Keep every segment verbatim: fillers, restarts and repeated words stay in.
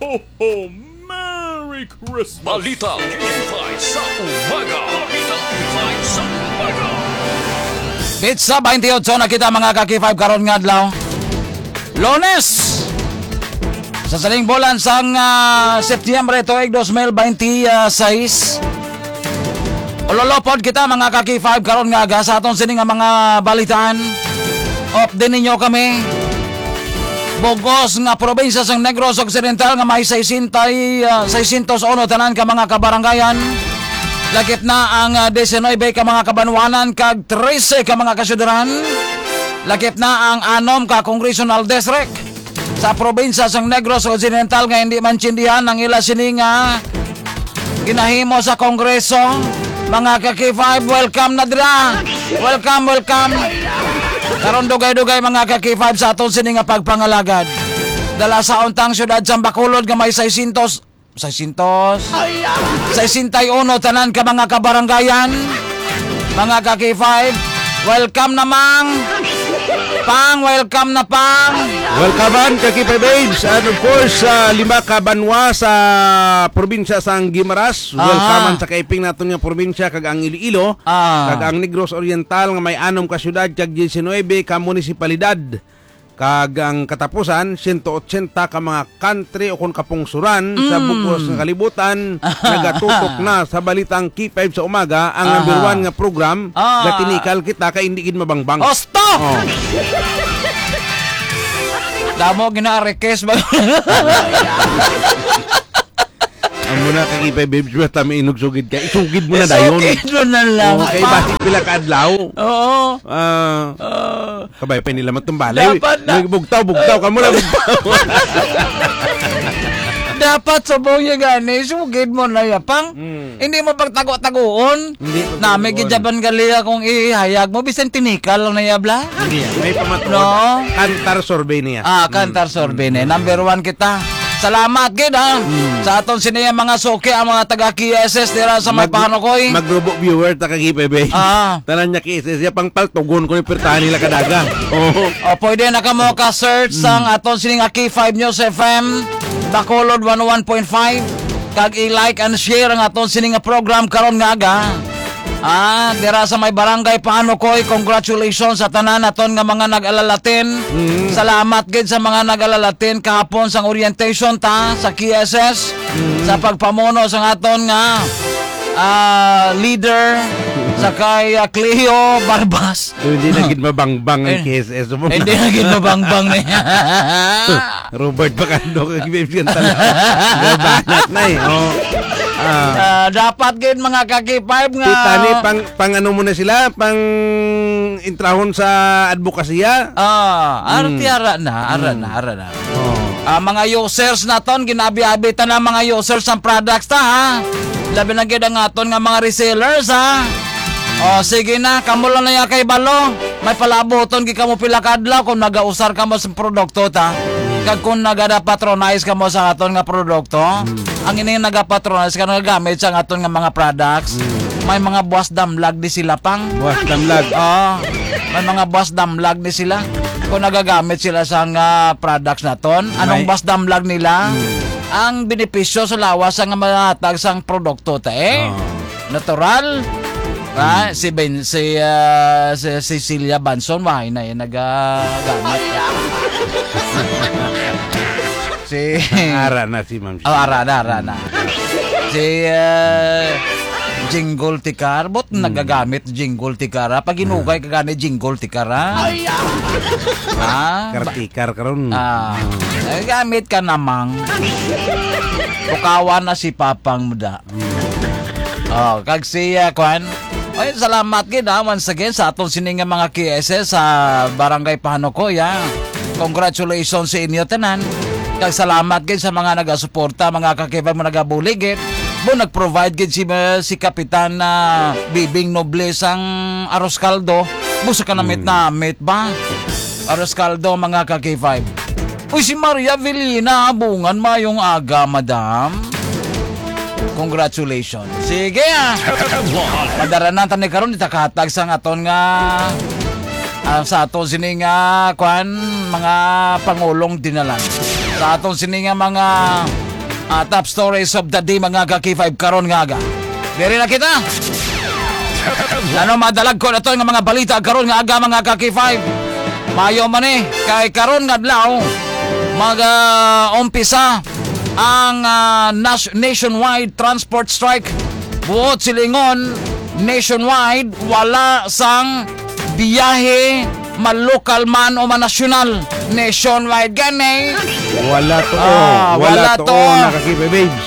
Oh, Merry Christmas! Balita K five sa umaga. Balita K five sa umaga. Petsa twenty-eight na kita, mga ka-K five, karon nga adlaw. Lunes! Sa sining bulan sang, ah, Setyembre tuig dos mil bente seis. Ululopod kita, mga ka-K five, karon nga aga sa aton sini nga mga balitaan. Update ninyo kami. Bugos nga probinsya sang Negros Occidental nga may sesenta, ah, seiscientos uno tanan ka mga kabarangayan. Lakip na ang, ah, diecinuebe ka mga kabanwanan kag trese ka mga kasyudran. Lakip na ang anom ka congressional district sa probinsya sang Negros Occidental nga hindi maintindihan ang ila sini nga ginahimo sa Kongreso. Mga ka-K five, welcome na dira. Welcome, welcome. Karon dugay-dugay, mga ka-K five, sa aton sini nga pagpangalagad. Dala sa untang siyudad sa Bacolod nga may seiscientos, seiscientos, sesenta y uno tanan ka mga kabarangayan. Mga ka-K five, welcome na, Mang. Pang, welcome na, Pang. Welcome man, ka-K five Babes. And of course, sa lima ka banwa sa probinsya sang Guimaras. Aha. Welcome man sa kaiping naton nga probinsya kag ang Iloilo, Ah. kag ang Negros Oriental nga may anom ka syudad kag diecinuebe ka munisipalidad. Kag ang katapusan, siyento otsenta ka mga country o kon kapungsuran sa Mm. bug-os nga kalibutan, nagatutok na sa balitang K five sa umaga, ang Aha. number one nga program, Ah. nga tinikal kita kay hindi gid mabangbang. Osto! Oh. Damo gina-request ba? Amo na, ka-K five Babes, basta may inugsugid ka, isugid mo na dayon. Isugid mo na lang. Oh, kay basi pila ka adlaw. Oo. Ah, Ah. kabay pa nila matumbalay. Dapat na. May bugtaw, bugtaw, kamo na bugtaw. Dapat subong niya gani, isugid mo na ya, Pang. Hmm. Hindi mo pagtago-tagoon. Hindi pagtago-tagoon. Nami gid jaban gali akong ihayag mo, bisan tinikal lang na ya, bla. Hindi, may pamatuod. No? Kantar survey niya. Ah, Hmm. Kantar survey niya. Hmm. Number one kita. Salamat gid, ha. Hmm. Sa aton sini nga mga suki, ang mga taga K S S dira sa may Mag-, Panukoy. Magrubo viewer ta kag K five Babes. Ah. Tanan niya K S S, ya pang paltugon ko ni pirtahan nila kadaga. Oo. O, pwede na kamo ka-search Hmm. sang aton sini nga K five News F M, Bacolod one oh one point five. Kag i-like and share ang aton sini nga program karon nga aga. Ah, dira sa may Barangay Panukoy, congratulations sa tanan naton nga mga nag-alalatin. Mm. Salamat gid sa mga nag-alalatin kahapon sang orientation ta sa K S S, Mm. sa pagpamuno sang aton nga, ah, leader, sa kay, ah, Cleo Barbas. So, hindi na gid mabangbang ang Eh, K S S mo. Hindi na gid mabangbang niya. Robert Bacando kag Vivian Tala. Gabanat na eh. Oh. Ah. Ah, dapat gid, mga ka-K five, nga Tita, ni pang, pang ano mo na sila, pang intrahon sa adbukasya. Ah, arte Hmm. ara na, ara Hmm. na, ara na. Oh. Ah, mga users naton, ginabi-abi ta na mga users ang products ta, ha. Labi na gid ang aton nga mga resellers, ha. Oh, sige na, kamo lang na ya kay balo. May palabuton gid kamo pila ka adlaw kung nagausar kamo sa produkto ta. Kag kung nagada-patronize kamo sa aton nga produkto, Hmm. ang ini nagapatronize ka nagagamit sa aton nga mga products, Hmm. may mga buwas damlag di sila, Pang. Buwas damlag. Oo. May mga buwas damlag di sila. Kung nagagamit sila sa nga products naton, anong May buwas damlag nila? Hmm. Ang benepisyo sa lawas nga mahatag sang produkto ta, eh. Oo. Natural. Ah, Hmm. si Ben, si, ah, si Cecilia Banson, mahay na yan nagagamit. Si Ara na si Ma'am Oh, ara na, ara na. Si, ah, Jingle Tikar, but Hmm. nagagamit Jingle Tikar, ah. Pag hinugay ka gani, Jingle Tikar, ah. Ay, ah! Ah, ba- Kartikar karon. Ah, Hmm. eh, gamit ka namang. Bukawan na si Papang Muda. Hmm. Oh, kag si, ah, kwan. Ay, salamat gid, ah, once again sa aton sini nga mga K S S sa Barangay Panukoy, ah. Congratulations sa inyo tanan. Kag salamat gid sa mga nagasuporta, mga ka-K five mo nagabulig gid. Mo nag-provide gid si, ah, si Kapitan, ah, Bibing Noble sang arroz caldo. Busa ka namit-namit ba? Arroz caldo, mga ka-K five. Uy, si Maria Velina Habungan, mayong aga, madam. Congratulations. Sige, ah. Padaranan ta ni karon, ita kahatag sang aton nga, ah, sa aton sini nga, kwan, mga pangulong dinalan. Sa aton sini nga mga Ah, top stories of the day, mga ka-K five, karon nga aga. Diri na kita. Ano, madalag ko na to nga mga balita karon nga aga, mga ka-K five. Mayo man eh, kay karon nga adlaw, mag, ah, umpisa ang, ah, nas-, nationwide transport strike. Buot silingon, nationwide, wala sang biyahe, malokal man o manasyonal. Nationwide gani. Wala to, Ah, wala wala to, to. Nakakita, babes.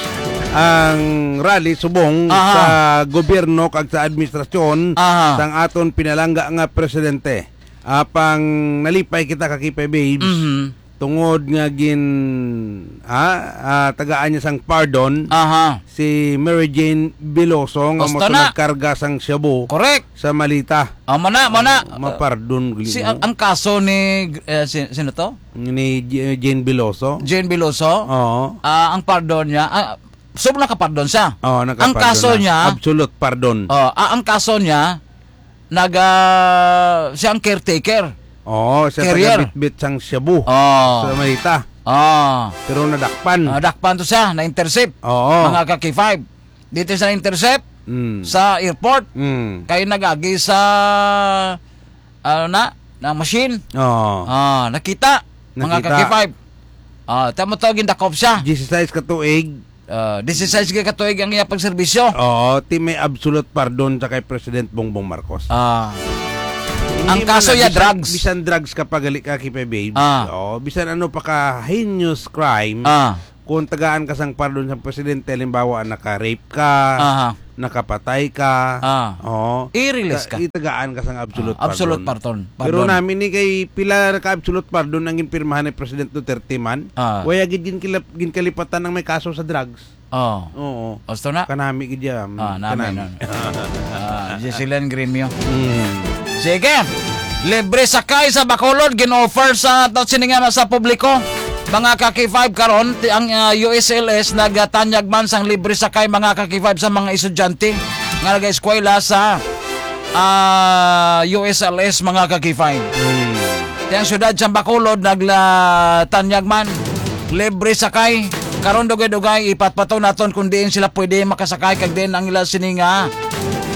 Ang rally subong Aha. sa gobyerno kag sa administrasyon Aha. sang aton pinalangga nga presidente. Apang nalipay kita, kakipay, babes. Mhm. Tungod nga gin, ha, ah, tagaan niya sang pardon Aha. si Mary Jane Veloso nga Basta mo na. nagkarga sang shabu Correct. sa malita. Ah, mana, mana. Mapardon gali Si mo. ang, ang kaso ni, eh, si, sino to? Ni J-, Jane Veloso. Jane Veloso. Oo. Ah, ang pardon niya, ah, so nakapardon siya. Oo, Ang nakapardon kaso na. niya, Absolute pardon. Oh, ah, ang kaso niya, nag, ah, siya ang caretaker. Oo, siya Carrier. taga-bitbit sang shabu Oh. sa malita. Oh. Pero nadakpan. Ah, dakpan to siya, na-intercept. Oo. Mga ka-K five. Dito siya na-intercept Mm. sa airport. Mm. Kay nag-agi sa, ano na, ng machine. Oo. Ah, nakita, mga Nakita. ka-K five. Ah, tamo to, gindakop siya. Disisais ka tuig. Ah, disisais ka tuig ang iya pagserbisyo. Oo, ti may absolute pardon sa kay President Bongbong Marcos. Ah. Hindi Ang man kaso na, ya, bisan, drugs. bisan drugs ka pa gali ka, Kipe Babes. Ah. Oo, bisan ano pa ka heinous crime, Ah. kung tagaan ka sang pardon sa presidente, halimbawa, naka-rape ka, Aha. nakapatay ka, Ah. oo, I-release ta-, ka. itagaan ka sang absolute Ah, absolute pardon. pardon. Pero Pardon. namin ni kay pila ka absolute pardon ang ginpirmahan ni President Duterte man, Ah. waya gid gin-, kilap-, ginkalipatan ang may kaso sa drugs. Oh. Oo. Gusto na? Kanami gid yan. Ah, nami, Kanami. nami. Ah, Giselian Gremio. Mm. Sige. Libre sakay sa Bacolod, gin-offer sa to sini nga sa publiko. Mga ka-K five karon, ti-, ang, ah, U S L S nagatanyag man sang libre sakay, mga ka-K five, sa mga estudyante nga nag-eskwela sa, ah, U S L S, mga ka-K five. Mm. Ti ang siyudad sa Bacolod naglatanyag man libre sakay. Karon dugay-dugay, ipatpato naton kung diin sila pwede makasakay kag diin ang ila sini nga,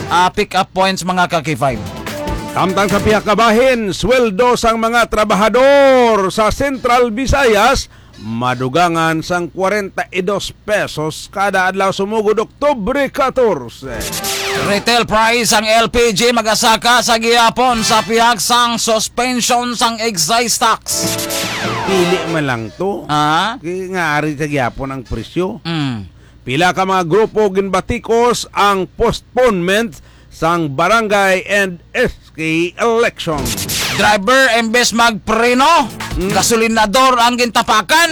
ah, pick up points, mga ka-K five. Samtang sa pihak nga bahin, sweldo sang mga trabahador sa Central Visayas madugangan sang kwarenta y dos pesos kada adlaw sumugod Oktubre katorse. Retail price sang L P G magasaka sa gihapon sa pihak sang suspension sang excise tax. Pili man lang to. Ah? Kay nga ari sa gihapon ang presyo. Mm. Pila ka mga grupo ginbatikos ang postponement sang barangay and S K election. Driver, imbes magpreno, Mm. gasolinador ang gintapakan,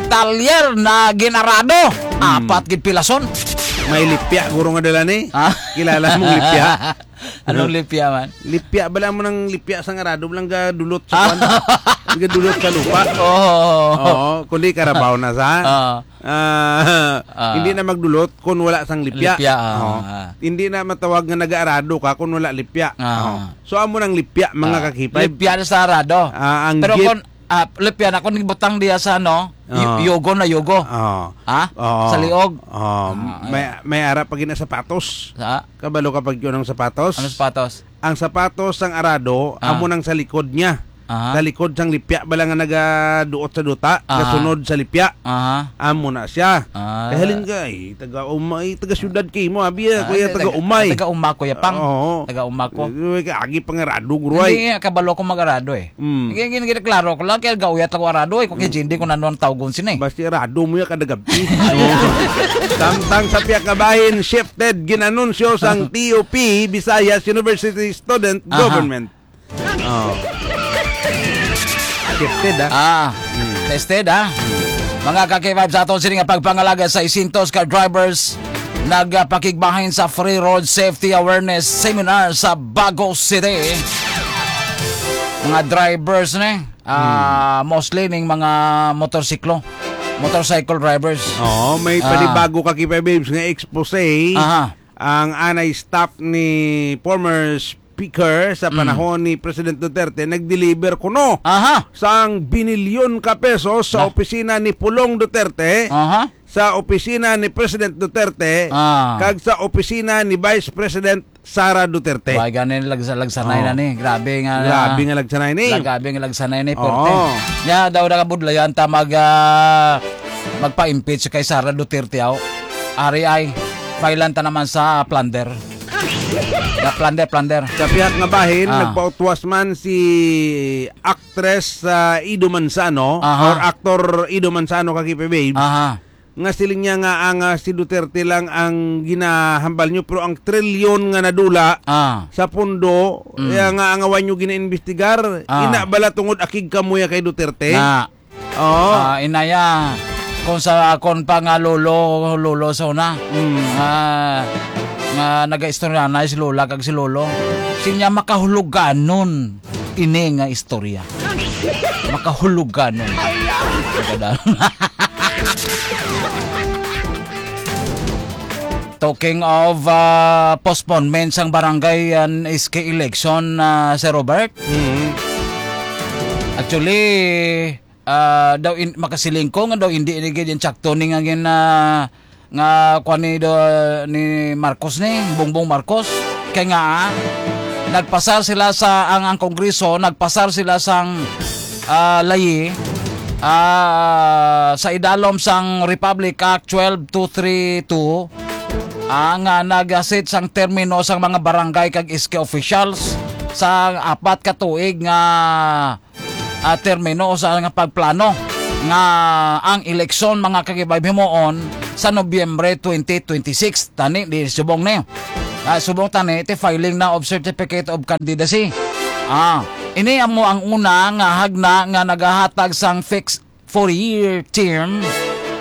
talyer na ginarado. Mm. Apat gid pilason. May lipya, guro, nga dala ni. Ah? Kilala mong lipya? Anong lipya man? Lipya, bala mo nang lipya sa ngarado, lang gadulot sa Ah. kwan. Gadulot sa lupa. Oo. Oo, kundi karabaw na sa. Oo. Ah, Ah. hindi na magdulot kung wala sang lipya. Lipya, ah, Oo. ah. Hindi na matawag nga nag-aarado ka kung wala lipya. Ah. Oo. So, amo nang lipya, mga Ah, kakipay. Lipya na sa arado. Ah, ang Pero git- kung, ah, lipya na kung ibutang diya sa, ano, y-, Ah. yogo na yogo. Ah. Ha? Oo. Sa liog? Oo. Ah, May, ayan. may ara pa gina sapatos. Sa? Kabalo ka pag yun ang sapatos? Ano sapatos? Ang sapatos sang arado, Ah. amo nang sa likod niya. Aha. Sa likod sang lipya, bala nga nagaduot sa duta, Aha. gasunod sa lipya. Aha. Amo na siya. Ah. Kay halin ka, eh, taga Umay, taga syudad kay mo, abi, ah, Ah, kuya, taga, taga Umay. taga Uma, Kuya Pang. Oo. Taga Uma ko. Eh, kay agi pangarado, guro, Hindi ay. nga, kabalo ko mag-arado, eh. Mm. Hindi, hindi, hindi, klaro ko lang, kaya gauyat ako arado, eh, kung kay Mm. Jindy, kung ano ang tawgon sini, eh. Basta arado mo ya kada gabi. Samtang sa pihak nga bahin, shifted ginanunsyo sang T O P, Visayas University Student Aha. Government. Oh. Shifted, ah. Ah, Hmm. tested, ah. Mga ka-K five, sa aton sini nga pagpangalaga, seiscientos ka drivers nagapakigbahin sa Free Road Safety Awareness Seminar sa Bago City. Mga drivers ni, ah, Hmm. mostly ning mga motorsiklo, motorcycle drivers. Oo, may Ah. panibago ka, K five Babes, nga expose. Aha. Ang anay staff ni former s-, speaker sa Mm. panahon ni President Duterte, nag-deliver kuno Aha. sang binilyon ka pesos sa Na. opisina ni Pulong Duterte, Aha. sa opisina ni President Duterte, Ah. kag sa opisina ni Vice President Sara Duterte. Why ganin lagsa-, lagsanay Oh. na ni? Grabe nga, Grabe nga lagsanay ni. Grabe nga lagsanay ni, Oo. Porte. Ya, daw na kabudlayan ta mag, ah, magpa-impeach kay Sara Duterte, aw. Ari ay, filean ta naman sa plunder. Ya, plunder, plunder. Sa pihak nga bahin, Ah. nagpautwas man si actress, ah, Ido Manzano Aha. or actor Ido Manzano, ka K P Babes, Aha. nga siling niya nga ang, ah, si Duterte lang ang ginahambal nyo, pero ang trilyon nga nadula Ah. sa pondo, Mm. ya nga ang awan nyo ginaimbestigar, Ah. ina bala tungod akig kamuya kay Duterte? Na. Oo. Ah, inaya, kung sa akon pa nga lolo, lolo sa una, Mm. nga, nga nagaistoryanay si lola kag si lolo, sinya makahuluganon ini nga istorya. Makahuluganon. Talking of, ah, postponement sang barangay and S K election, ah, Sir Robert. Mm. Actually, ah, daw in-, makasiling ko nga daw hindi ni gid insakto ni nga gin-, ah, nga kuwan ni do, ni Marcos ni, Bongbong Marcos. Kay nga, ah, nagpasar sila sa, ang, ang Kongreso, nagpasar sila sang, ah, layi, ah, sa idalom sang Republic Act twelve two three two, ah, nga nagasit sang termino sang mga barangay kag S K officials sa apat ka tuig nga ah, termino sa nga pagplano nga ang eleksyon, mga kakibay, himuon sa Nobyembre twenty twenty-six. Tani, di subong ni. Ah, subong tani, ti filing na of certificate of candidacy. Ah, ini amo ang una nga hagna nga nagahatag sang fixed four-year term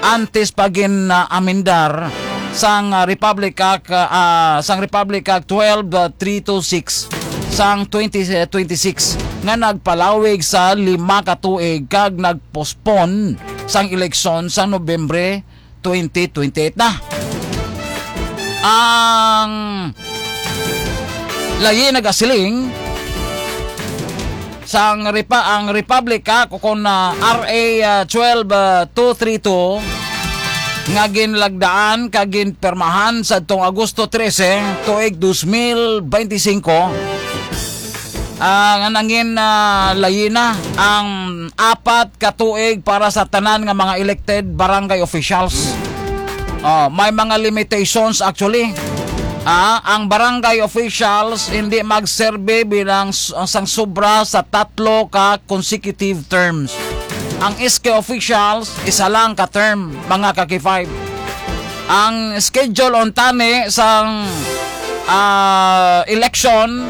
antes pa gin, ah, amendar sang, ah, Republic Act, ah, sang Republic Act twelve three two six sang twenty twenty-six nga nagpalawig sa lima ka tuig kag nagpospon sang eleksyon sa Nobyembre twenty twenty-eight na. Ang layi nagasiling, sang Repa-, ang Republic Act, o kon, ah, R A, ah, twelve, ah, two three two, nga ginlagdaan kag ginpirmahan sa tong Agosto trese, tuig dos mil bente singko, ah, nga nangin, ah, layi na ang apat ka tuig para sa tanan nga mga elected barangay officials. Oh, may mga limitations actually. Ah, ang barangay officials hindi magserbe bilang s-, sang sobra sa tatlo ka consecutive terms. Ang S K officials, isa lang ka term, mga ka-K five. Ang schedule on tani sang, ah, election,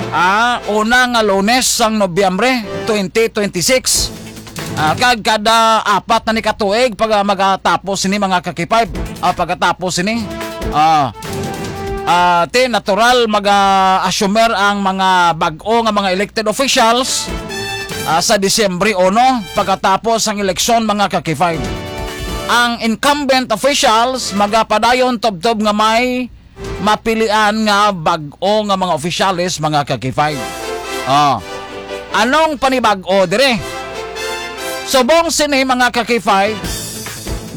ah, una nga Lunes sang Nobyembre twenty twenty-six. Ah, kag kada apat na ni ka tuig pag, ah, magatapos sini, mga ka-K five. Ah, pagkatapos sini, ah, ah, ti natural mag-assumer ang mga bag-o nga mga elected officials, ah, sa Disyembre uno, pagkatapos ang eleksyon, mga ka-K five. Ang incumbent officials magapadayon tubtob nga may mapilian nga bag-o nga mga opisyales, mga ka-K five. Oh. Anong panibag-o dire? Subong sini, mga ka-K five,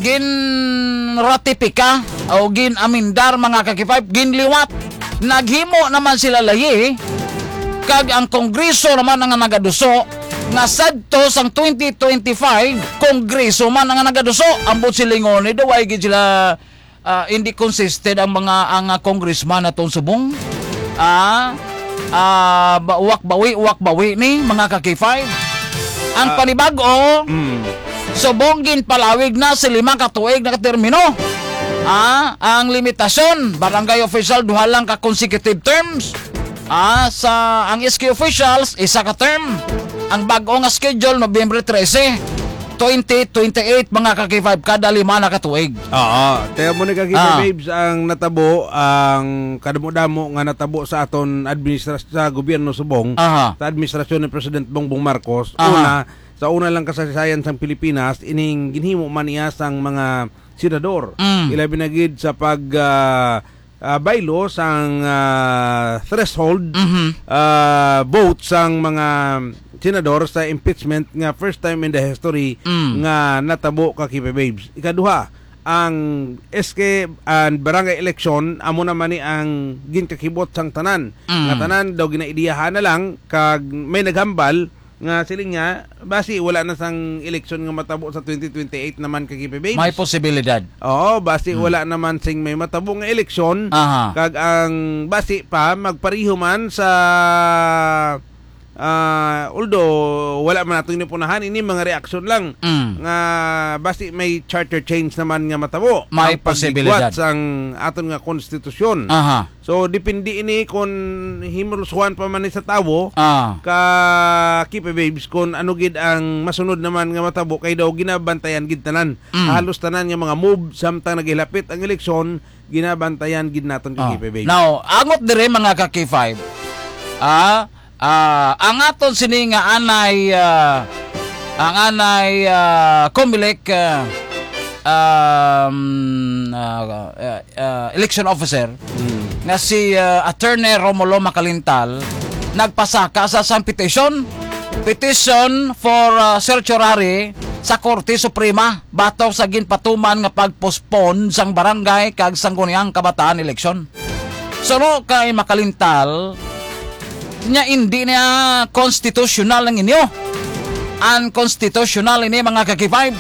ginratipika o ginamendar, mga ka-K five, ginliwat. Naghimo naman sila layi, kag ang Kongreso naman ang nagaduso, nga sadto sang twenty twenty-five, Kongreso man ang nagaduso. Ambot silingon ni, do way gid sila ah, hindi consistent ang mga, ang, ah, congressman naton subong. Ah, ah, ba-, uwak bawi, uwak bawi ni, mga ka-K five. Ang Ah. Panibago, Mm. subong ginpalawig na sa lima ka tuig na termino. Ah, ang limitasyon, barangay official, duha lang ka consecutive terms. Ah, sa ang S K officials, isa ka term. Ang bag-o nga schedule, Nobyembre trese, twenty twenty-eight, mga ka-K five, kada lima na ka tuig. Oo. Kaya mo ni ka-K five Ah. Babes, ang natabo, ang kadamo-damo nga natabo sa aton administras-, sa gobyerno subong, Aha. sa administrasyon ni President Bongbong Marcos. Aha. Una, sa una lang kasaysayan sang Pilipinas, ining ginhimo man niya sang mga senador. Mm. Ilabi na gid sa pag, ah, ah, bylaw sang, ah, threshold, Mhm. ah, vote sang mga senador sa impeachment nga first time in the history Mm. nga natabo, ka K P Babes. Ikaduha, ang S K and barangay election, amo naman ni ang ginkakibot sang tanan. Mm. Nga tanan daw ginaidiyahan na lang, kag may naghambal nga siling niya, basi wala na sang eleksyon nga matabo sa twenty twenty-eight naman, ka K P Babes. May posibilidad. Oo, basi Hmm. wala naman sing may matabo nga eleksyon. Aha. Kag ang basi pa, magpariho man sa, ah, although wala man nato ni punahan, ini mga reaksyon lang. Mm. Nga basi may charter change naman nga matabo. May Ang pagbigwat posibilidad. sang aton nga konstitusyon. Aha. So, depende ini kung himulsuhan pa man ni sa tawo, Ah. ka K P Babes, kung ano gid ang masunod naman nga matabo, kay daw ginabantayan gid tanan. Mm. Halos tanan nga mga move, samtang naghilapit ang eleksyon, ginabantayan gid naton, ka Oh. K P Babes. Now, angot dire, mga ka K five. Ah, ah, ang aton sini nga anay, ah, ang anay, ah, Comelec, ah, um, ah, ah, ah, election officer Mm. nga si, ah, Attorney Romulo Macalintal nagpasaka sa sang petition, petition for, ah, certiorari sa Korte Suprema batok sa ginpatuman nga pag-postpone sang barangay kag sangguniang kabataan eleksyon. Suno kay Macalintal, niya, hindi niya konstitusyonal ang inyo. Unconstitutional ini, mga ka K five.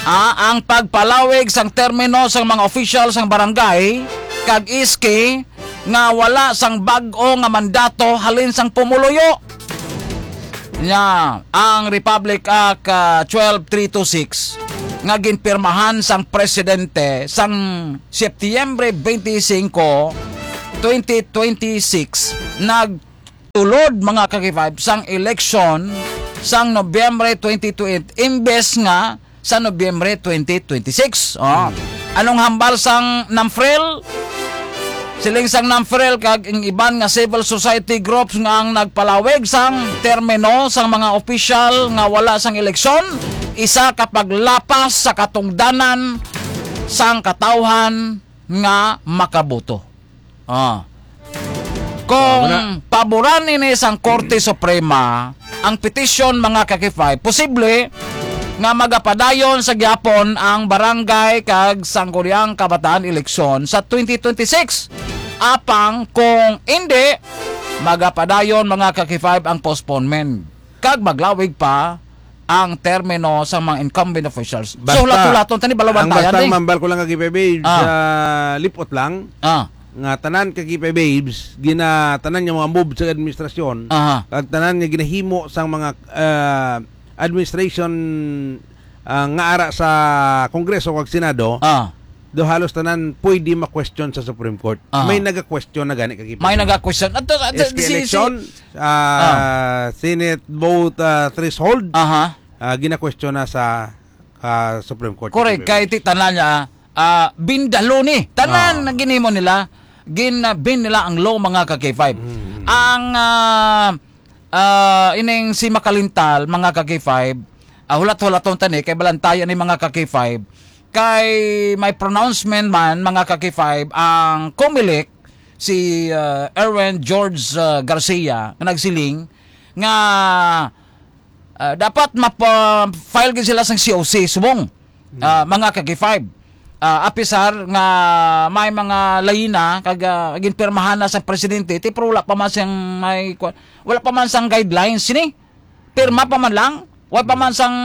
Ah, ang pagpalawig sang termino sang mga opisyal sang barangay kag S K nga wala sang bag-o nga mandato halin sang pumuluyo. Nya, ang Republic Act, ah, twelve three two six nga ginpirmahan sang presidente sang Setyembre twenty-five, twenty twenty-six, nagtulod, mga ka K five, sang eleksyon sang Nobyembre twenty twenty imbes nga sa Nobyembre twenty twenty-six. Oh. Hmm. Anong hambal sang NAMFREL? Siling sang NAMFREL kag ang iban nga civil society groups nga ang nagpalawig sang termino sang mga opisyal nga wala sang eleksyon, isa ka paglapas sa katungdanan sang katawhan nga makaboto. Ah. Kung Ah, wala. paboran ini sang Korte Suprema ang petisyon, mga ka K five, posible nga magapadayon sa gyapon ang barangay kag sangguniang kabataan eleksyon sa twenty twenty-six. Apang kung hindi, magapadayon, mga ka K five, ang postponement kag maglawig pa ang termino sa mga incumbent officials. Basta, So, hulat-hulaton tani, ang balabantayan basta ni. Mambal ko lang, Kagipay Babes, Ah. sa lipot lang, Ah. nga tanan, Kagipay Babes, gina-, tanan nga mga move sa administrasyon, Aha. kag tanan nga ginahimo sang mga, ah, administration, ah, nga ara sa Kongreso kag Senado, Ah. do halos tanan pwede ma-question sa Supreme Court. Ah. May naga-question na gani, Kagipay May Babes. naga-question. Ato, ato, S K si, si election, ah, Ah. Senate vote, ah, threshold, Aha. ah, gina-question na sa, ah, Supreme Court. Correct. Kay ti tanan niya, ah, bindalo ni. Tanan Ah. na ginimo nila, gin-, ah, bin nila ang law, mga ka K five. Mm. Ang, ah, ah, ining si Makalintal, mga ka K five, ah, hulat-hulaton tani, kay balantayan ni, mga ka K five, kay may pronouncement man, mga ka K five, ang Comelec, si, ah, Erwin George, ah, Garcia, nga nagsiling nga, ah, dapat mapa-file gid sila sang C O C subong, Mm. ah, mga ka K five. Ah, apisar nga may mga layina kag, ah, ginpirmahan na sa presidente, ti, pero wala pa man siyang may kwa-, wala pa man sang guidelines sini. Pirma pa man lang, wala pa man sang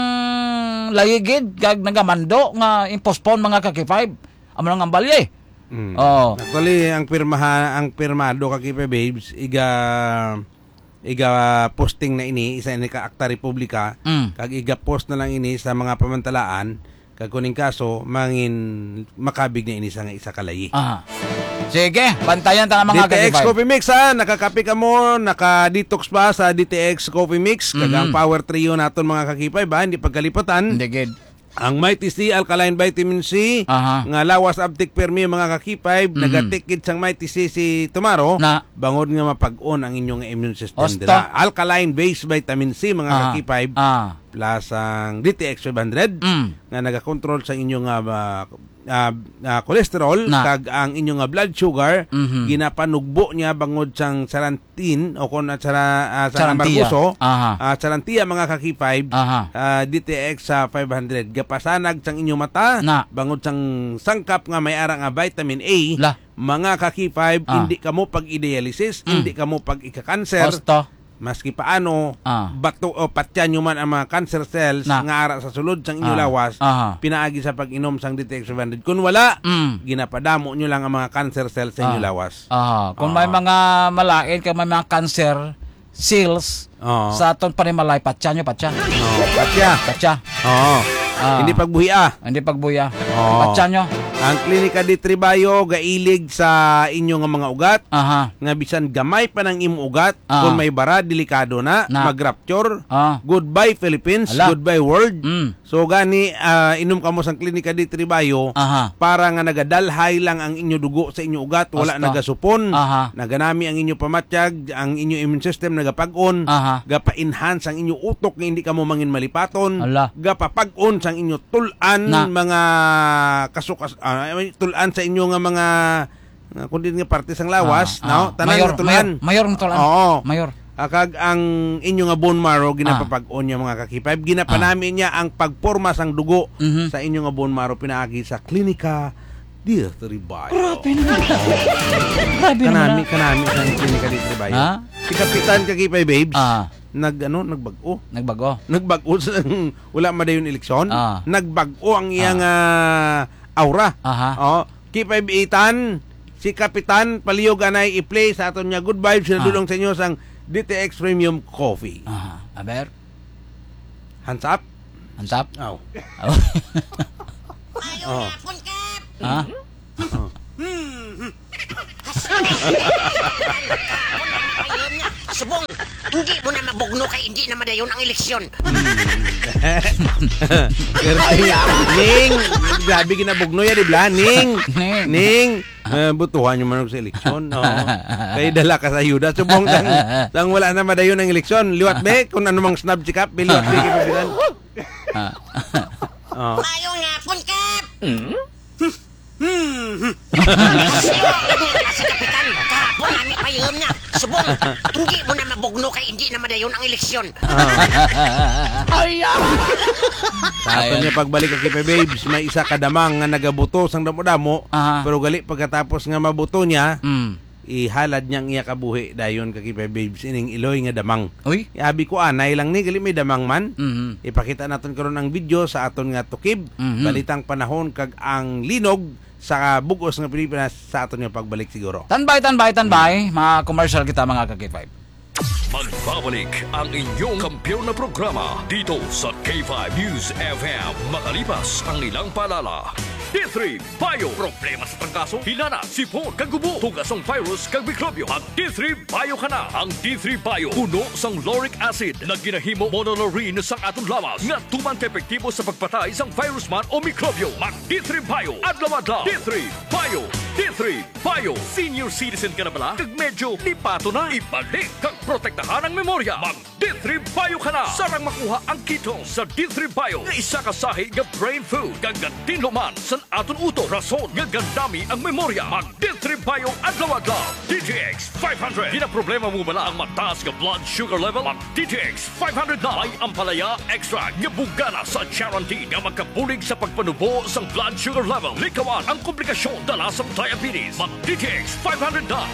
layigid kag nagamando nga i-postpone, mga ka K five. Amo lang ang balye. Mm. Oo. Actually, ang pirmaha-, ang pirmado, Kagipay Babes, iga, iga posting na ini, isa ini ka Akta Republika, Mm. kag iga post na lang ini sa mga pamantalaan, kag kuning kaso, mangin makabig na ini sa nga isa ka layi. Aha. Sige, bantayan ta nga, mga D T X ka K five. Coffee Mix, ha? Nakakape ka mo, naka-detox pa sa D T X Coffee Mix, kag Mhm. ang Power Trio naton, mga ka K five, ha? Hindi pagkalipotan. Hindi gid. Ang Mighty C Alkaline Vitamin C, Aha. nga lawas abtik permi, mga ka K five, Mhm. nagatikid sang Mighty C si Tumaro, Na. bangod nga mapag-on ang inyong immune system Osto. dira. Alkaline based vitamin C, mga Aha. ka K five. Ah. plus ang D T X five hundred Mm. nga nagakontrol sa inyong, ah, ah, ah, cholesterol Na. kag ang inyong, ah, blood sugar, Mhm. ginapanugbo niya bangod sang sarantin o kon, ah, sara-, ah, sa Sarantia. amargoso, Aha. ah, sarantia, mga ka-K five, Aha. ah, D T X sa five hundred. Gapasanag sang inyong mata, Na. bangod sang sangkap nga may ara nga vitamin A, La. mga ka-K five, Ah. hindi kamo pag-i-dialysis, Mm. hindi kamo pag-ika-cancer, Basta. maski paano, Ah. bato o patyan nyo man ang mga cancer cells Na. nga ara sa sulod sang inyo Ah. lawas, Aha. pinaagi sa pag-inom sang D T X five hundred. Kung wala, Mm. ginapadamo nyo lang ang mga cancer cells sa inyo Ah. lawas. Aha. Kung may Ah. mga malain, kung may mga cancer cells Ah. sa aton panimalay, patyan nyo, patyan. Oh, patya. Patya. Oo. Ah. Hindi pagbuhia. Hindi pagbuya. Oo. Patyan nyo. Ang Klinika D three Bio gailig sa inyo nga mga ugat, Aha. nga bisan gamay pa nang imo ugat, Ah. kung may bara, delikado na, Na. mag-rupture. Ah. Goodbye, Philippines. Ala. Goodbye, world. Mm. So, gani, ah, inom kamo sang Klinika D three Bio Aha. para nga nagadalhay lang ang inyo dugo sa inyo ugat, wala Basta. nagasupon. Aha. Naganami ang inyo pamatyag, ang inyo immune system nagapag-on, Aha. gapa-enhance ang inyo utok nga hindi kamo mangin malipaton, Ala. gapapag-on sang inyo tul-an, Na. mga kasukas-, ah, tul-an sa inyo nga mga, nga kundi nga parte sang lawas, Ah, no? ah. Tanan Mayor, nga tul-an. mayor, mayor nga tul-an. Oo. Mayor. Ah, kag ang inyo nga bone marrow, Ah. ginapapag-on niya, mga ka-K five. Ginapanami Ah. niya ang pagporma sang dugo Mhm. sa inyo nga bone marrow pinaagi sa Klinika D three Bio. Grabe naman. Grabe naman, Kanami, ah. kanami sa Klinika D three Bio. Ha? Si Kapitan ka-K five Babes, Ah. nag-, ano, nagbag-o. Nagbag-o. Nagbag-o sa, wala madayon eleksyon. Ah. Nagbag-o ang iyang, Ah. ah, aura. Aha. Oh, K five Itan, si Kapitan, palihog anay i-play sa aton nga good vibes, Ah. sinadulong sa inyo sang D T X Premium Coffee. Aha. Aber? Hands up? Hands up? Aw. Aw. Ayaw Oh. na, Pon Kap! Ha? Oh. Hmm. Ayaw na. Subong, hindi mo na mabugno kay hindi na madayon ang eleksyon. Pero, Ning, grabe ginabugno ya, di ba? Ning, Ning. Ning, eh, butuhan yung manok sa eleksyon. Oo. Kay dala ka sa ayuda. Subong, sang, sang wala na madayon ang eleksyon. Liwat, be, kung ano mang snub si Kap, be, liwat, be, kay Pabilan. Ah. Oh. Maayong hapon, Kap! Hmm? Hmm. Kasi, oh, ano na si Kapitan? Kahapon, nami pa yun nga. Subong, hindi mo na mabugno kay hindi na madayon ang eleksyon. Ah. Ay, ah. Sa aton Ayun. niya pagbalik, okay, pa, babes, may isa ka damang nga nagabuto sang damo-damo, Aha. pero gali pagkatapos nga mabuto niya, Mm. ihalad niya ang iya kabuhi dayon, ka-K five Babes, ining iloy nga damang. Uy. Abi ko, anay lang ni, gali may damang man. Mhm. Ipakita naton karon ang video sa aton nga tukib, Mhm. balitang panahon kag ang linog sa bug-os nga Pilipinas sa aton nga pagbalik siguro. Tanbay, tanbay, tanbay. Mhm. Mga commercial kita, mga ka-K five. Magbabalik ang inyong kampiyon na programa dito sa K five News F M, makalipas ang ilang paalala. D three Bio. Problema sa trangkaso, hinana, sipon, kag ubo, tuga sang virus kag mikrobyo. Mag D three Bio ka na. Ang D three Bio puno sang lauric acid nga ginahimo monolaurin sang aton lawas nga tuman ka epektibo sa pagpatay sang virus man o mikrobyo. Mag D three Bio adlaw-adlaw. D three Bio. D three Bio. Senior citizen ka na bala? Kag medyo lipato na? Ibalik kag protektahan ang memorya. Mag D three Bio ka na. Sarang makuha ang ketone sa D three Bio nga isa ka sahi nga brain food kag gatinlo man sa aton utok, rason nga gandami ang memorya. Mag D three Bio adlaw-adlaw. D T X five hundred. Ginaproblema mo bala ang mataas nga blood sugar level? Mag D T X five hundred na. May ampalaya extract nga bugana sa charantin nga makabulig sa pagpanubo sang blood sugar level. Likawan ang komplikasyon dala sang diabetes. Mag D T X five hundred na.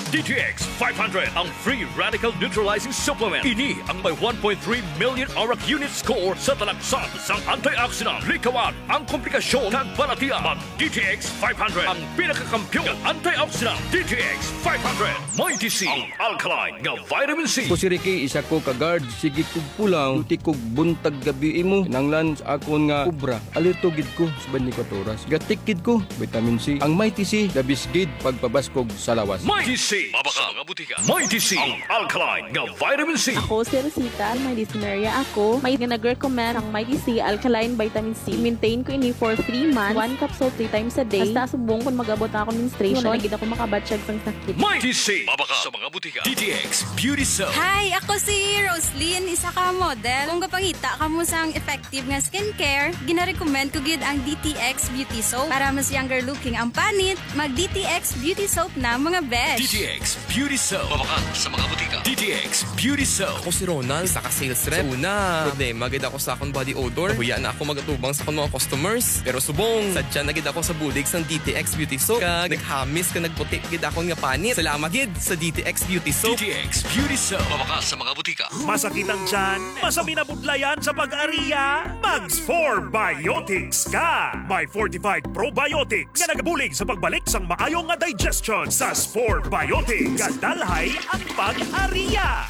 D T X five hundred, ang free radical neutralizing supplement. Ini ang may one point three million arak unit score sa talaksan sang antioxidant. Likawan ang komplikasyon kag balatian. Mag D T X five hundred, ang pinakakampiyon nga antioxidant. D T X five hundred. Mighty C, ang alkaline nga vitamin C. Ako si Ricky, isa ko ka guard. Sige kog pulaw, duty kog buntag gabi imo. Kinahanglan sa akon nga obra, alerto gid ko sa twenty-four oras. Gatik gid ko, vitamin C. Ang Mighty C, the best gid pagpabaskog sa lawas. Mighty C, Mabakal sa mga butika. Mighty C, ang alkaline nga vitamin C. Ako si Rosita, may dysmenorrhea ako. May nga nag-recommend ang Mighty C alkaline vitamin C. Maintain ko ini for three months. One capsule three times a day. Hasta subong kung mag-abot na akong menstruation, na gid ako makabatsyag sang sakit. Mighty C, mabakal sa mga butika. D T X Beauty Soap. Hi, ako si Roslyn, isa ka model. Kung gapangita kamo sang effective nga skincare, ginarecommend ko gid ang D T X Beauty Soap. Para mas younger looking ang panit, mag D T X Beauty Soap na, mga besh. D T X Beauty Soap. Mabakal sa mga butika. D T X Beauty Soap. Ako si Ronald, isa ka sales rep. Sa una, problema gid ako sa akong body odor. Nahuya na ako magatubang sa akong mga customers. Pero subong, sadya na gid ako sa bulig sang D T X Beauty Soap. Kag naghamis ka nagputi gid akon nga panit. Salamat gid sa D T X Beauty Soap. D T X Beauty Soap. Mabakal sa mga butika. Masakit ang tiyan? Masaminabudlayan sa pag-ariya? Mag Spore Biotics ka! May fortified probiotics nga nagabulig sa pagbalik sang maayo nga digestion sa Spore Biotics. Kadalhay ang pag-ariya!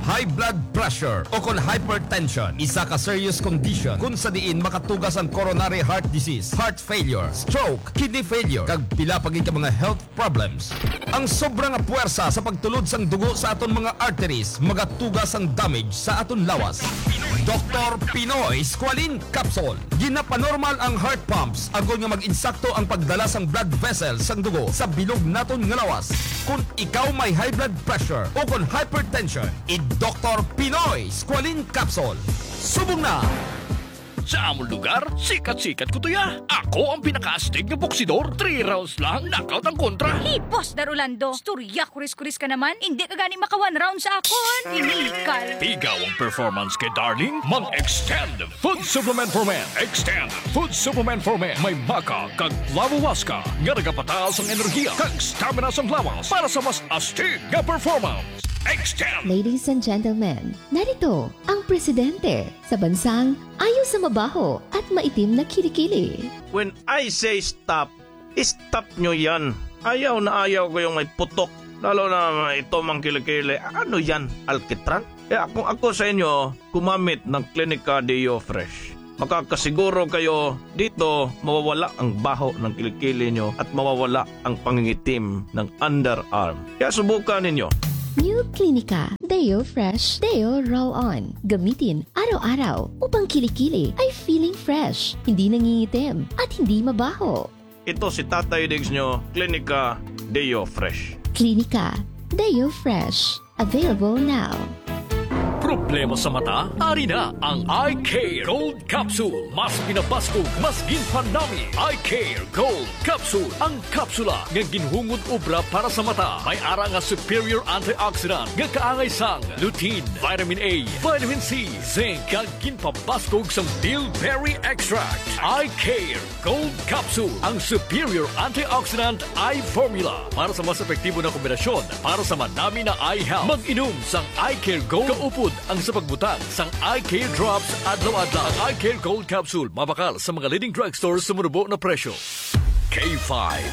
High blood pressure o kon hypertension, isa ka serious condition kung sa diin makatugas ang coronary heart disease, heart failure, stroke, kidney failure, kag pila pa gid ka mga health problems. Ang sobra nga puwersa sa pagtulod sang dugo sa aton mga arteries magatuga sang damage sa aton lawas. Doktor Pinoy Squalene Capsule. Ginapanormal ang heart pumps agod nga mag-insakto ang pagdala sang blood vessels sang dugo sa bilog naton nga lawas. Kung ikaw may high blood pressure o kon hypertension, i-Doktor Pinoy Squalene Capsule. Subong na! Sa amon lugar, sikat-sikat ko tuya. Ako ang pinakaastig nga boksidor. Three rounds lang, knockout ang kontra. Hey, Boss Dar Rolando, istorya kuris-kuris ka naman. Hindi ka gani maka one round sa akon. Inikal. Pigaw ang performance kay Darling. Mag-Extend Food Supplement for Men. Extend Food Supplement for Men. May maca kag flavowaska nga nagapataas ang enerhiya kag stamina sang lawas para sa mas astig nga performance. Extend. Ladies and gentlemen, narito ang presidente sa bansang ayo sa mabaho at maitim na kilikili. When I say stop, stop nyo yan. Ayaw na ayaw ko yung may putok. Lalo na ito mang kilikili. Ano yan? Alkitran? Kaya kung ako sa inyo, gumamit ng Clinica Deo Fresh. Makakasiguro kayo dito mawawala ang baho ng kilikili nyo at mawawala ang pangingitim ng underarm. Kaya subukan ninyo. New Clinica Deo Fresh Deo Roll On. Gamitin araw-araw upang kilikili ay feeling fresh, hindi nangingitim, at hindi mabaho. Ito si Tatay Diggs nyo, Clinica Deo Fresh. Clinica Deo Fresh. Available now. Problema sa mata? Ari na ang Eye Care Gold Capsule. Mas pinabaskog, mas ginpanami. Eye Care Gold Capsule. Ang kapsula nga ginhungod obra para sa mata. May ara nga superior antioxidant nga kaangay sang lutein, vitamin A, vitamin C, zinc, kag ginpabaskog sang bilberry extract. Eye Care Gold Capsule, ang superior antioxidant eye formula para sa mas epektibo na kombinasyon para sa madami na eye health. Mag-inom sang Eye Care Gold kaupod ang sa pagbutang sang Eye Care Drops adlaw-adlaw. Ang Eye Care Gold Capsule mabakal sa mga leading drugstores sa manubo na presyo. K five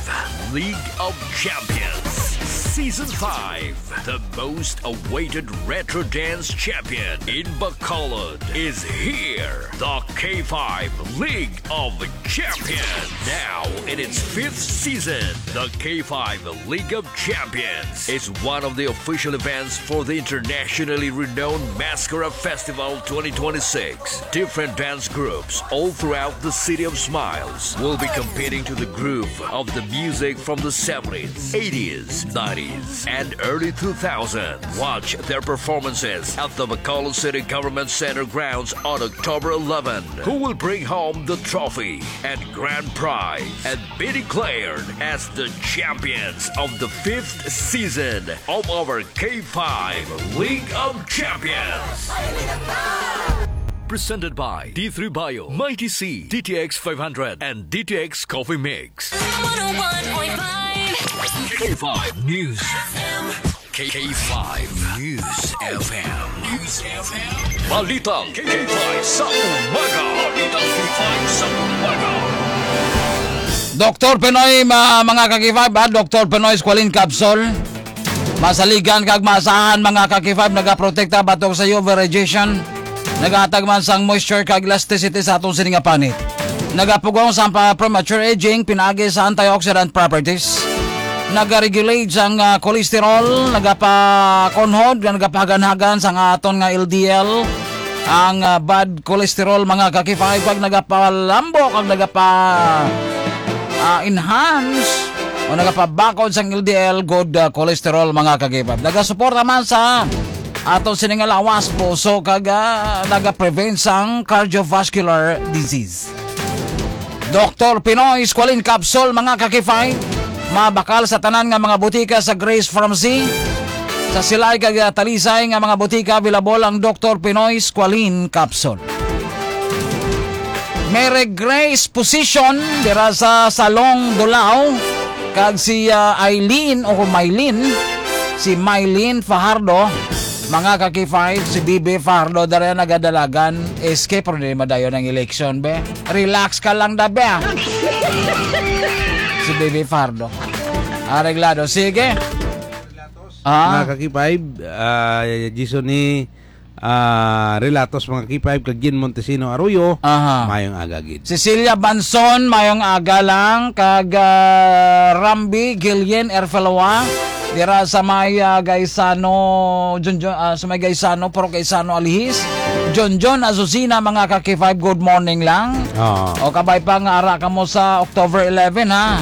League of Champions Season five. The most awaited retro dance champion in Bacolod is here. The K five League of Champions. Now in its fifth season, the K five League of Champions is one of the official events for the internationally renowned Mascara Festival twenty twenty-six. Different dance groups all throughout the City of Smiles will be competing to the groove of the music from the seventies, eighties, nineties, and early two thousands. Watch their performances at the Bacolod City Government Center grounds on October eleven. Who will bring home the trophy and grand prize and be declared as the champions of the fifth season of our K five League of Champions? Presented by D three Bio, Mighty C, D T X five hundred, and D T X Coffee Mix. One oh one point five K five News F M. K five News F M. News F M. Balitang K five sa umaga. Balitang K five sa umaga. Doktor Pinoy, ma-, mga ka-K five, ah, Doktor Pinoy Squalene Capsule. Masaligan kag maasahan, mga ka-K five, nagaprotekta batok sa U V radiation. Nagahatag man sang moisture kag elasticity sa atong sini nga panit. Nagapugong sa pa-, premature aging pinaagi sa antioxidant properties. Nagaregulate sang, ah, cholesterol, nagapakunhod, nga nagapahaganhagan sang aton nga L D L. Ang, ah, bad cholesterol, mga ka-K five, pag nagapalambo, kag nagapa, ah, enhance, o nagapabakod sang L D L, good, ah, cholesterol, mga ka-K five. Nagasuporta man sa aton sining nga lawas, puso, kag, ah, nagaprevent sang cardiovascular disease. Doktor Pinoy Squalene Capsule, mga ka-K five. Mabakal sa tanan nga mga botika sa Grace Pharmacy. Sa Silay kag, ah, Talisay nga mga botika, available ang Doktor Pinoy Squalene Capsule. Mary Grace Position dira sa Salong Dulao, kag si, ah, Eileen o Mylene, si Mylene Fajardo, mga ka-K five, si B B Fajardo dara nagadalagan, S K, pero di madayon ang eleksyon, be. Relax ka lang da, be, ah. Si B B Fajardo. Areglado. Sige. Ah. Mga ka-K five, ah, Jason ni, ah, Relatos, mga K five, kag Gin Montesino Arroyo, Aha. mayong aga gid. Cecilia Banson, mayong aga lang, kag, ah, Rambi Gillian Erfeloa, dira sa may, ah, Gaisano, Junjun, ah, sa may Gaisano, Purok Gaisano, Alihis. Junjun Azucena, mga ka-K five, good morning lang. Oo. O kabay pa nga ara kamo sa October eleven, ha.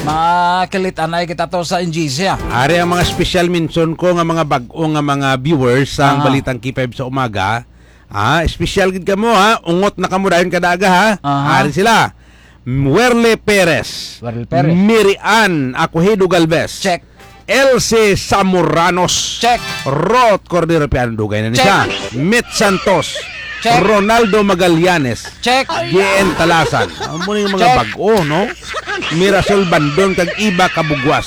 Makilit anay kita to sa N G C, ah. Ari ang mga special mention ko nga mga bag-o nga mga viewers sang Ah. Balitang K five sa umaga. Ah, special gid kamo, ha. Ungot na kamo dayon kada aga, ha. Aha. Ari sila. Werle Perez. Werle Perez. Mary Ann Acohido Galvez. Check. Elsie Samoranos. Check. Rot Cordero Piano, dugay na ni Check. siya. Mit Santos. Check. Ronaldo Magallanes. Check. G N Talasan. Amo ni mga Check. bag-o, no? Mirasol Bandon kag Iba Kabugwas.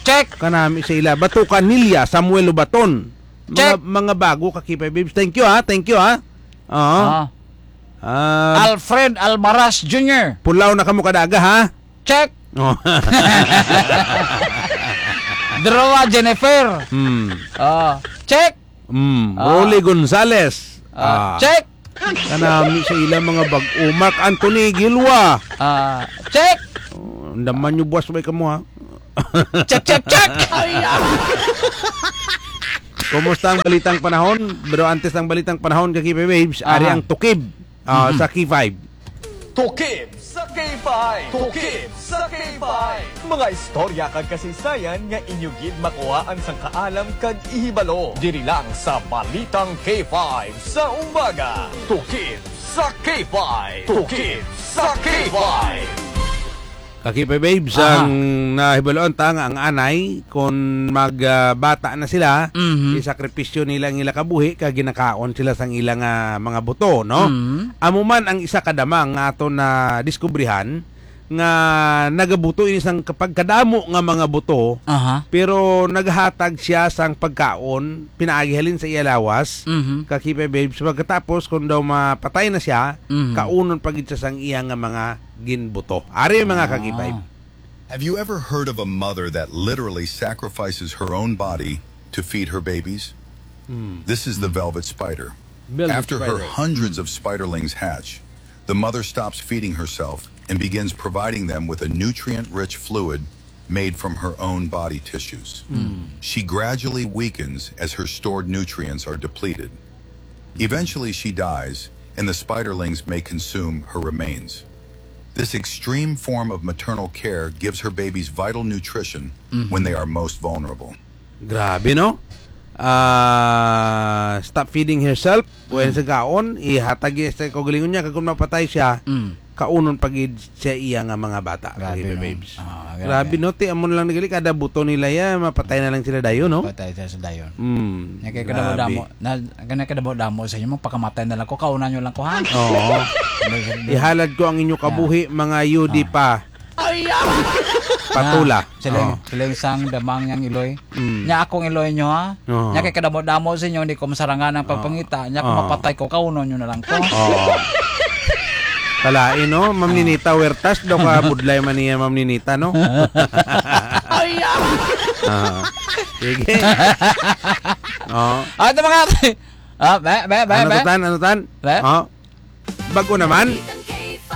Check. Kanami sa ila. Bato Canilla, Samuel Ubaton. Mga, Check. mga bago ka K five Babes. Thank you, ha. Thank you, ha. Oo. Ah. Ah. Alfred Almaraz Junior. Pulaw na kamo kada aga, ha? Check. Oh. Droa Jennifer. Hmm. Ah, check. Hmm. Ah. Rolly Gonzalez. Ah, Ah. check. Kanami sa ila mga bag-o. Mark Anthony Gilwa. Ah, check. Oh, andaman nyo, buwas, may kamo, ha? Check, check, check. Kumusta ang balitang panahon? Pero antes ng balitang panahon, ka K five Babes, ari Aha. ang tukib, ah, Mhm. sa K five. Tukib sa K five. Tukib sa K five. Mga istorya kag kasaysayan nga inyo gid makuhaan sang kaalam kag ihibalo. Diri lang sa Balitang K five sa Umaga. Tukib sa K five. Tukib sa K five. Ka K five Babes, Aha. ang nahibaluan ta nga ang anay, kon mag, ah, bata na sila, Mhm. isakripisyo nila ang ila kabuhi, kag ginakaon sila sang ila nga mga buto, no? Mhm. Amo man ang isa ka damang nga aton nadiskubrihan, nga nagabuto ini sang kapagkadamo nga mga buto, Aha. pero naghatag siya sang pagkaon, pinaagi halin sa iya lawas, Mhm. ka K five Babes. Pagkatapos, kung daw mapatay na siya, Mhm. kaunon pa gid siya sang iya nga mga ginbuto. Ari, mga ka K five. Ah. Have you ever heard of a mother that literally sacrifices her own body to feed her babies? Hmm. This is the Hmm. velvet spider. Velvet After her spider. hundreds of spiderlings hatch, the mother stops feeding herself and begins providing them with a nutrient-rich fluid made from her own body tissues. Hmm. She gradually weakens as her stored nutrients are depleted. Eventually, she dies, and the spiderlings may consume her remains. This extreme form of maternal care gives her babies vital nutrition Mhm. when they are most vulnerable. Grabe, no? Ah, stop feeding herself. When Mm. sa gaon, ihatag niya sa kaugalingon niya, kag kung mapatay siya, Mm. kaunon pa gid siya iya nga mga bata, Grabe, mga no? babes. Ah, grabe. Grabe, no? Ti, amo na lang nagali, kada buto nila ya, mapatay na lang sila dayon, no? Patay sila sa dayon. Mm, Nya kay kadamo-damo, grabe. na, nya kay kadamo-damo sa inyo, magpakamatay na lang ko, kaunan nyo lang ko, ha? Oo. Hindi, hindi. Ihalad ko ang inyo Ah. kabuhi, mga yudi Ah. pa. Ay, ah! Patula. Na, sila, Oo. sila yung sang damang yang iloy. Mm. Nya akong iloy nyo, ha? Oo. Nya kay kadamo-damo sa inyo, hindi ko masarangan ang Oo. pagpangita. Nya kung Oo. mapatay ko, kaunon nyo na lang ko. Oo. Kalain, no? Ma'am Ah. Ninita Huertas, daw ka budlay man niya, Ma'am Ninita, no? Ay, ah! Ah. Sige. Oh. Ah, ito mga, ah, be, be, be, Ano be. to, Tan? Ano, Tan? Be? Oh. Bago naman?